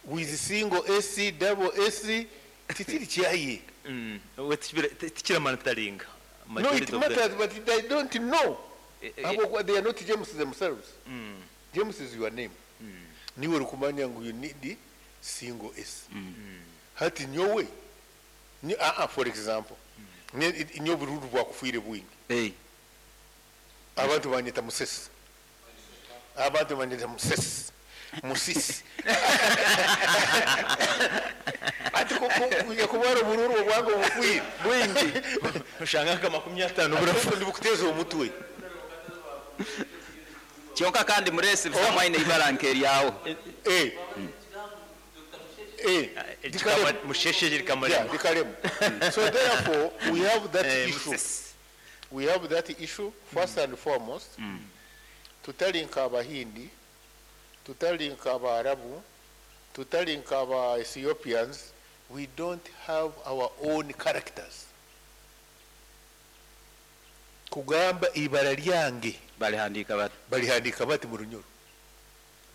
With single AC, double AC, titiri kyaye. Tikiramataringa. No, it matters, but they don't know. Abo, they are not James themselves. James is your name. Niwe urikumanya ngu you need single S. Hati nyowe, ni, for example, nyowe bururu bwakufuire bwingi. Hey. Abantu banyita musesi. Abantu banyita musesi. Musisi. Ati kubara obururu obwange obufuire bwingi. Ushanga nka 50 burafu ndibukuteza omutwe. Kyonka kandi muresi bisamwaine ibara nkeryawo. Eh. Eh. Musheshe Dikalemu. So therefore we have that issue. We have that issue first and foremost. Tutalinka Abahindi, tutalinka Abarabu, tutalinka aba Ethiopians. We don't have our own characters. Kugamba ibara lyange balihandika bati, balihandika bati mu Runyoro.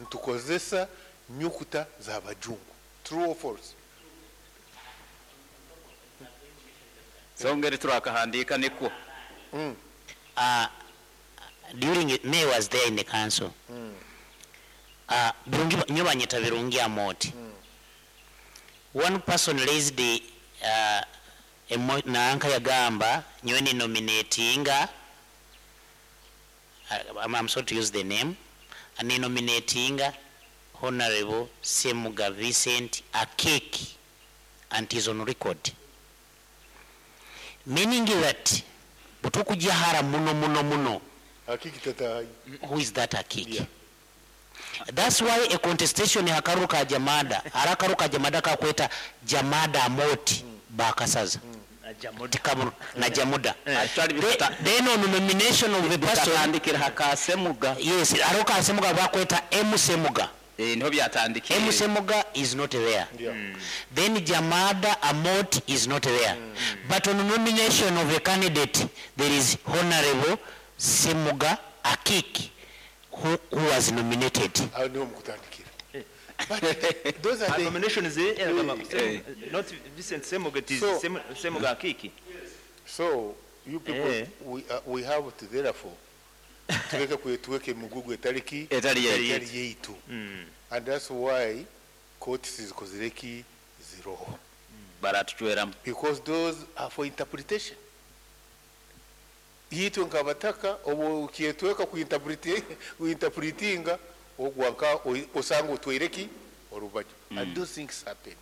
Ntukozesa nyukuta za bajungu. True or false? Songeri turakahandika niko. During May was there in the council. Birungi nyobanyeta Birungi Amoti. One person raised the nanka yagamba nyoni nominatinga, I'm sorry to use the name, and nominating Honorable Semuga Vincent Akeki, and is on record. Meaning that butukujahara muno muno muno. Akiki tata. Who is that Akiki? Yeah. That's why a contestation hakaruka jamada, harakaruka jamada kakweta Jamada Amoti bakasaza. Na Jamuda. Then on the nomination of the person bitandikira hakasemuga. Yes, aroka Semuga bakweta M Semuga. Niho byatandikiye. M Semuga is not there. Yeah. Then Jamada Amoti is not there. But on the nomination of a candidate there is Honorable Semuga Akiki who was nominated. Aho niho mukutandikira. But those are the nominations, not Vincent Semuga, it is Semuga Akiki. So you people, we have to therefore tuweke mugugu etariki etali yeitu. And that's why courts zikozireki ziroho. Baratuchweramu. Because those are for interpretation. Yitwe nkabataka obo kietweka kuinterpretinga ogwanka osanga otwereki orubaju. And those things happen.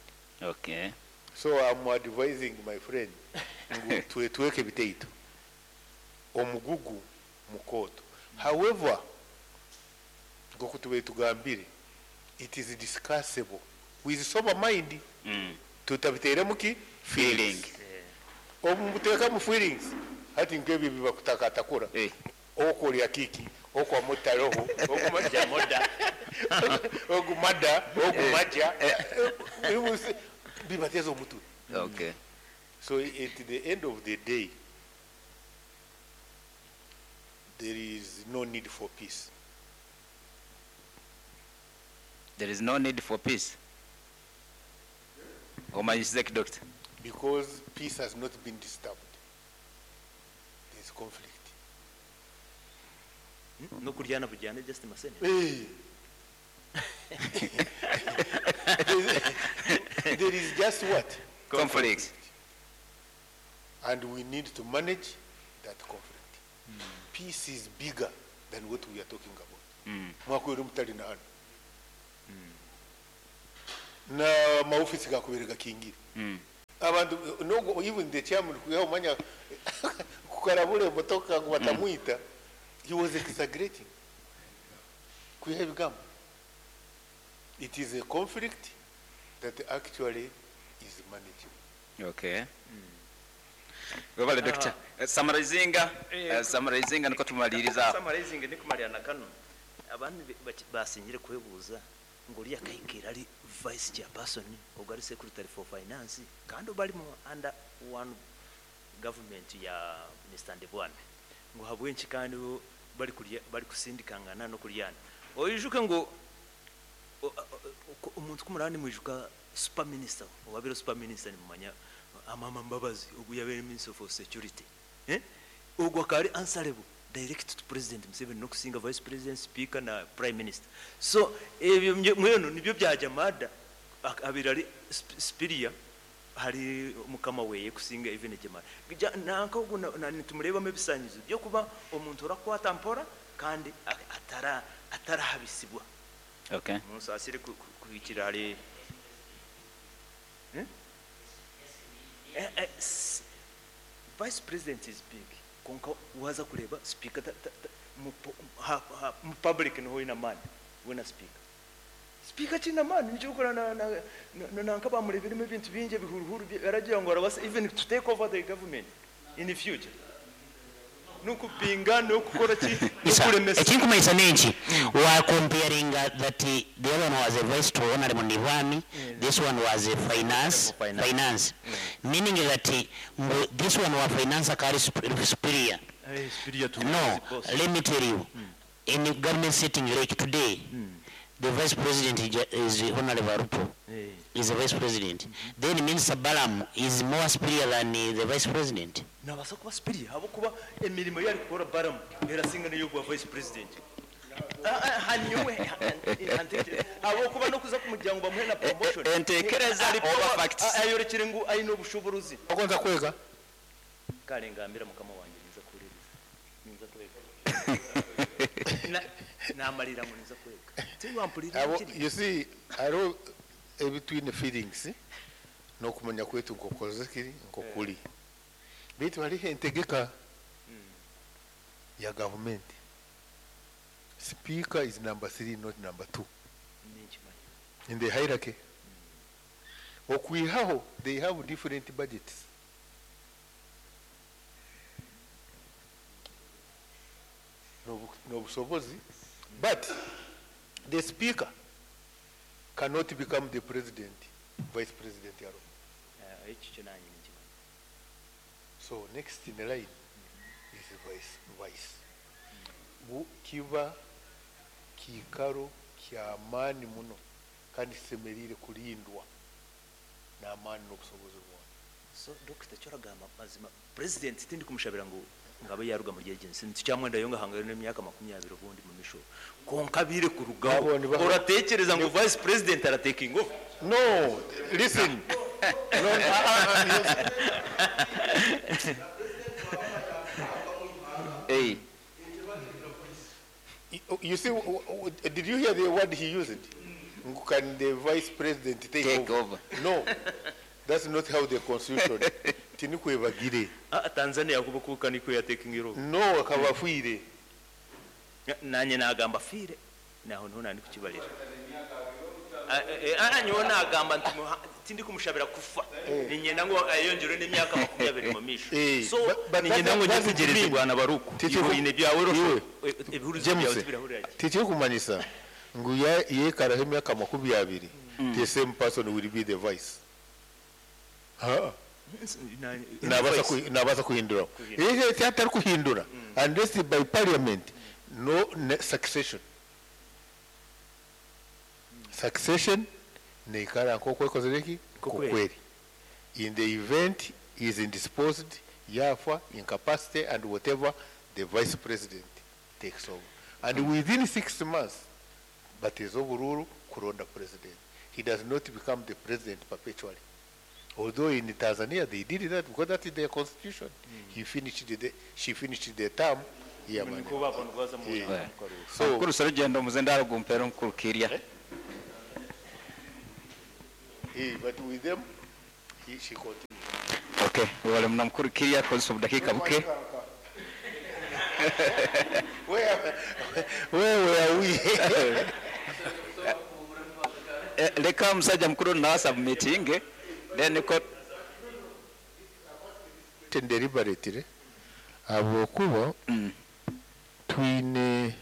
Okay. So I'm advising my friend ngu tuweke biteito omugugu mukoto. However, ngokutube tugambire, it is discussable with sober mind. Tutabiteremu ki feeling. Omuteka mu feelings hati nkebi bibakutakatakura. Okolya kiki okwamutaroho okumajamoda okumada okumaja bibateza omutwe. Okay. So at the end of the day there is no need for peace. There is no need for peace. Omanyisize doctor. Because peace has not been disturbed. There is conflict. No kuryana bujyane just masene. There is just what? Conflict. And we need to manage that conflict. Peace is bigger than what we are talking about. Mwakwere mutali na hano. Na maofisi gakubere gakingire. Abantu no even the chairman kuya umanya kukarabura emotoka ngu batamwita. He was exaggerating. Kuya ebigambo. It is a conflict that actually is manageable. Okay. Webale doctor. Summarizinga, summarizinga niko tumaliriza. Summarizing nikumalira na kano. Abantu basinyire kwebuuza ngu oriya akahikira ari vice chairperson ogu ari secretary for finance kandi bari mu under one government ya Mr. Ndebwana ngu habwenki kandi bo bari kurya bari kusindikangana no kuryana oyijuke ngu omuntu kumurani mwijuka super minister owabire super minister nimumanya Amama Mbabazi ogu yabere minister for security ogwo akaba ari answerable direct to president Museveni nokusinga vice president speaker na prime minister so ebyo mwenu nibyo bya Jamada abire ari superior hari mukama weye kusinga even Jamada nanka ogu nitumurebamu ebisanyizo byokuba omuntu orakwata mpora kandi atarahabisibwa. Okay. Munsasire kuhikira hari Vice president is big. Konka waza kureba speaker mu public niho ina mani wena speaker. Speaker china mani nicho ukora na na na nanka bamureberemo ebintu bingi ebihuruhuru aragira ngo arabasa even to take over the government in the future. Nukupinga nukukora ki nukuremesa. Ekinkumanyisa nenki wa comparing that the other one was a vice to Honorable Ndibwami, this one was a finance, finance. Meaning that this one was finance akari superior. Superior to No, boss. Let me tell you, in the government sitting like today, the vice president is Honorable Arupo. Is the vice president. Then Minister Balaam is more superior than the vice president. Nabasa kuba superior abo kuba emirimo yari kukora Balaam erasinga niyo kuba vice president. Hanyuwe abo kuba no kuza kumuryango bamuhe na promotion. Entekereza Ari over power, facts. Ayorekere ngu ayino obushobozi. Okonza kwega. Kale ngambira mukama wanjye niza kuririza. Niza kwega. Namarira ngo niza kwega. Tiwampurira Abo, kiri. you see, aro between feelings no kumenya kwetu nkokoze kiri nkokuli. Bitu hali entegeka ya government. Speaker is number 3 not number 2. In the hierarchy. Okwihaho they have different budgets. No busobozi, but the speaker cannot become the president, vice president. So next in the line is vice. Kiba kikaro kya amani muno kandi kisemerire kulindwa na amani n'obusobozi bwona. So Dr. Choragamba mazima president tindi kumushabira ngu ngabe yaruga muri agency nticyamwenda yo ngahanga n'imyaka 20 ubundi mu misho konka bire kurugaho uratekereza ngo vice president arateking over. No, listen. No, Hey. You see, did you hear the word he used? Can the vice president take over? No, that's not how the constitution. Tinikwebagire. Tanzania kubukuka niko ya taking over. No, akabafwire. Nanye nagamba fire. Naho ntona ndi kukibalira. Nyowe nagamba nti tindi kumushabira kufa. Ninyenda ngo ayongere n'imyaka 20 mu misho. So ninyenda ngo ntegereze bwana Baruku. Ibo byawe rosho. Ibihuruzo byawe tubirahurira. Titi kumanyisa ngu yekaraho imyaka 20. The same person will be the vice. Ha. Nabasa kuhindura. Ihe atari kuhindura. Unless by parliament no succession. Succession neikara nk'oku ekozire kokweri. In the event is indisposed, yafa, incapacity and whatever, the vice president takes over. And within 6 months, but is overruled Kuronda president. He does not become the president perpetually. Although in Tanzania they did that because that is their constitution. He finished the, she finished the term. Yeah, man. So mukuru Serugendo muzendaro gumpero mukuru Kirya. Eh, but with them he, she continued. Okay, webale muno mukuru Kirya kozesa obudakiika buke. Where, where were we? Eh, leka omusajja mukuru nawe submitting then ko Deliberately habwokuba twine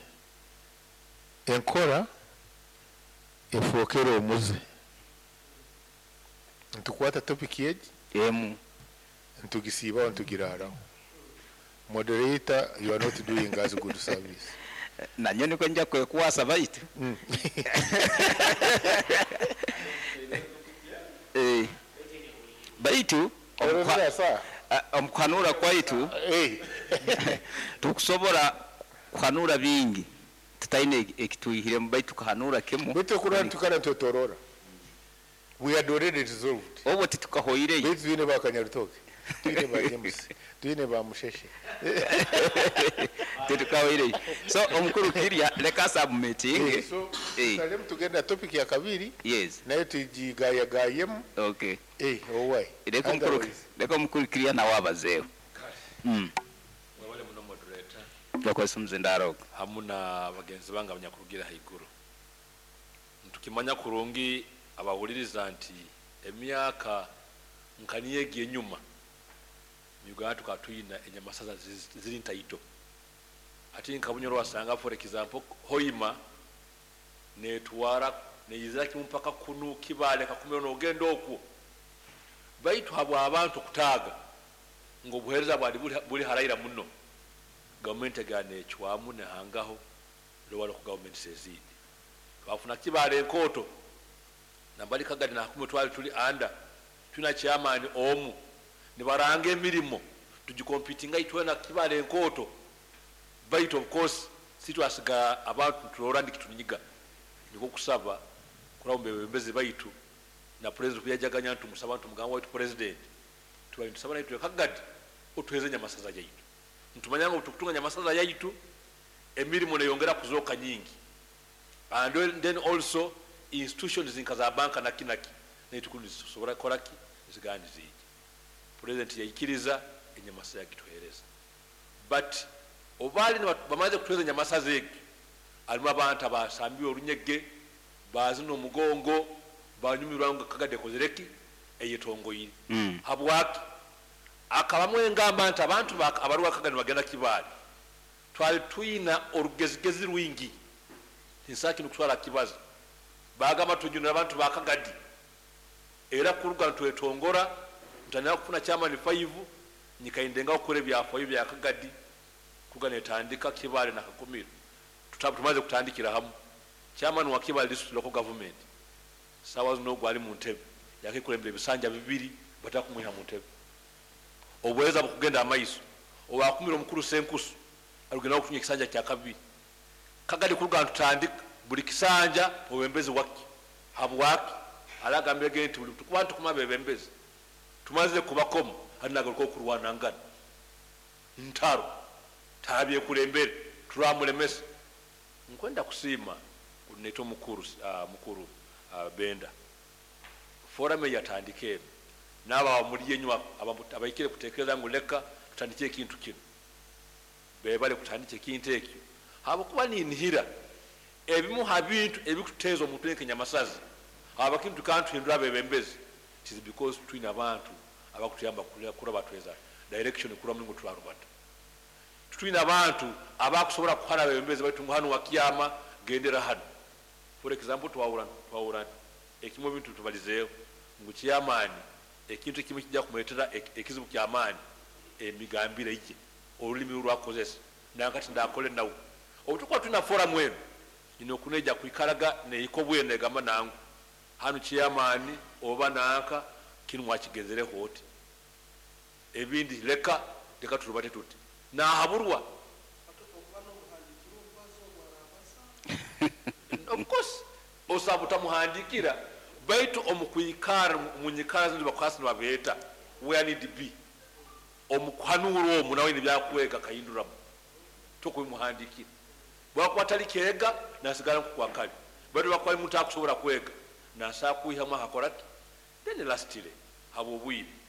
enkora efookere omuze ntukwata topic egi emu ntugisiibaho ntugiraaraho. Moderator, you are not doing us good service. Nanyo niko nja kwekwasa baitu. Eh, baitu Ororera saa. Omukuhanura kwaitu Eh. tukusobora kuhanura bingi tutaine ekitwihiremu baitu tukahanura kimu. Baitu kurora tukara nitwetorora, we had already resolved. Obwo titukahoireyo. Baitu twine ba Kanyarutoke, twine ba James, twine ba Musheshe. Titukahoireyo, so omukuru Kirya leka submitting. Eh, so tusalemu tugenda topic ya kabiri. Yes. Nayo tugigayagayemu. Okay. Eh, owai. Leka omukuru Otherwise- leka omukuru Kirya nawe abazeeho. Mwebale muno moderator. Bakozesa omuzindaro. Hamu na bagenzi bange abanyakurugira haiguru. Ntukimanya kurungi abahuliriza nti emyaka nka niyo egi enyuma mu Uganda tukaba tuyina enyamasaza ziri ntaito. Ati nka Bunyoro wasanga, for example, Hoima netwara neyizira kimu mpaka kunu Kibale Kakumiro nogenda okwo, baitu habwa abantu kutaaga ngo obuheereza bwali buli haraira muno, gavumenti egana ecwamu nehangaho lowala ku gavumenti ezindi twafuna Kibale enkooto nambali Kagadi nakumwe twali tuli anda tulina chairman omu nibaranga emirimu tugikompitinga itwena Kibale enkooto, baitu of course sitwasiga abantu tulora ndikitunyiga. Niko kusaba kuraba mbebembezi baitu na president kuyajaganya ntumusaba ntumugamba waitu president tubali ntusaba naitwe Kagadi otuheze nyamasaza yaitu, ntumanya ngo tukutunga nyamasaza yaitu emirimu neyongera kuzoka nyingi, and then also institutions nka za banka naki naki naitukundi zisobora koraki zigandi ziji. President yaikiriza enyamasa yakituhereza, but obali bamaze kutuheza enyamasa zegi alimu abantu abasambiwe orunyege bazina omugongo banyumirwa nga Kagadi ekozereki eyetongoire. Habwaki akabamu engamba nti abantu abaruwa Kagadi bagenda Kibaale twali tuyina orugezigezi rwingi tinsaki nokutwara kibazo bagamba tujunira abantu ba Kagadi era kuruga ntwetongora ntandika kufuna chairman 5 nyikaindenga okukora ebyafayo bya Kagadi kuruga netandika Kibaale na Kakumiro. Tumaze kutandikira hamu chairman wa Kibaale district local government sawa zino gwali mu ntebe yakikulembera ebisanja bibiri batakumwiha mu ntebe obuweereza bukugenda amaiso owakumira omukuru Senkusu alugenda okufunya ekisanja kya kabiri. Kagadi kuruga ntutandika buli kisanja obwembezi waki habwaki alagambye ge nti buli tukuba ntukuma bebembezi tumaze kubakomo halinagaruka okurwanangana ntaro tabyekulembere turamulemesa. Nkwenda kusiima neto mukuru Benda forum yatandika eno n'aba muli enyuma abaikire kutekereza ngu leka tutandike ekintu kino bebale kutandika ekintu ekyo habwokuba ninhira ebimu ha bintu ebikuteeza omuntu enkenyamasazi abakintu kantuhindura abebembezi. It is because twine abantu abakutuyamba kuraba tweza direction kura mulingo turarubata twine abantu abakusobola kuhana abebembezi baitu ngu hano wakiyama gendera hano. For example, twawura ekimu ebintu tubalizeeho ngu kyamaani ekintu ekimu kijja kumuleetera ekizibu kyamaani emigambire ye olulimi lwakozesa nankati ndakole nawe obutukuba tulina forum eno ino okuneja kwikaraga neiko bwene egamba nangu hano kyamaani oba nanka kinu mwakigenzereho oti ebindi leka leka turubate tuti nahaburwa. Of course osaba utamuhandikira baitu omukwikara munyikara zindi bakwasi nibabeeta where need be omukuhanura omu nawe nibyakwega kahinduramu tokubimuhandikira bwakuba tali kyega nasigala nkukwakali baitu bakuba muntu akusobola kwega nasa kwihamu akakoraki Then lastly, habw'obwire.